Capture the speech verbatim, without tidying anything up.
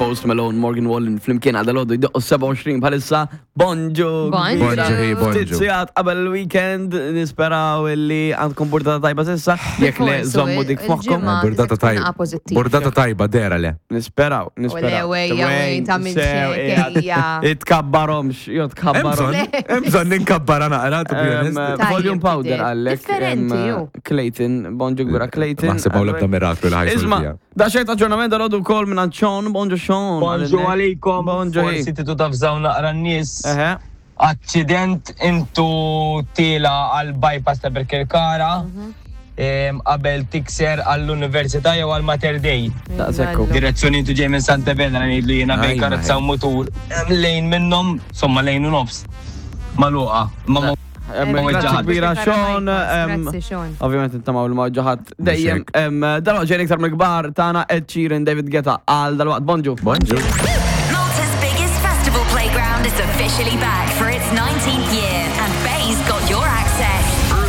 Post Malone, Morgan Wallen, flimkien għal dalgħodu jdoqqu sebgħa u għoxrin bħalissa. Bonġu. Bonġu. Bonġu, hi, bonġu. Ftit sigħat qabel il-weekend, nisperaw illi għandkom burdata tajba s'issa. Jekk le, Forsi, żommu dik f'moħħkom. il-ġimgħa Burdata tista' tkun tajba. pożittiva. Burdata tajba, dera le. Nisperaw, nisperaw. Ole, wejja, wej, ta' minn Sew, xek, ejja. Itkabbarhomx, jo tkabbarhom. Hemm bżonn ninkabbara naqra, to be Em, honest. Tajjeb, Volume powder tidher. għallek. Differenti, em, ju. Clayton, bonġu kbira Clayton. Naħseb hawn l-ebda miraklu li ħa Isma, jsolvija. da xejn aġġornament dalgħodu wkoll minn Sean, bonġu Sean. Bonġu għalikom. Bonġu. Forsi titu tafżaw naqra n-nies. Eħe. Accident intu tila għal bypass ta' Birkirkara. em, Qabel tikser għall-Università jew għal Mater Dei. Daqshekk hu. Direzzjoni intu ġej minn Santa Venera, ngħidlu jiena bejn Ajma, karozza u mutur. Em, Lejn minnhom, somma lejn u nofs. Magħluqa. Ma ma Em, Ma Grazzi weġġaħat. kbira Sean. em, Grazzi, Sean. Ovvijament intamaw li ma ġaħat dejjem. Em, Dalwaqt ġejn iktar mill-kbar tagħna Ed Sheeran, David Guetta għal dalwaqt. Bonġu. Bonġu. Malta's biggest festival playground is officially back for its nineteenth year, and Bay's got your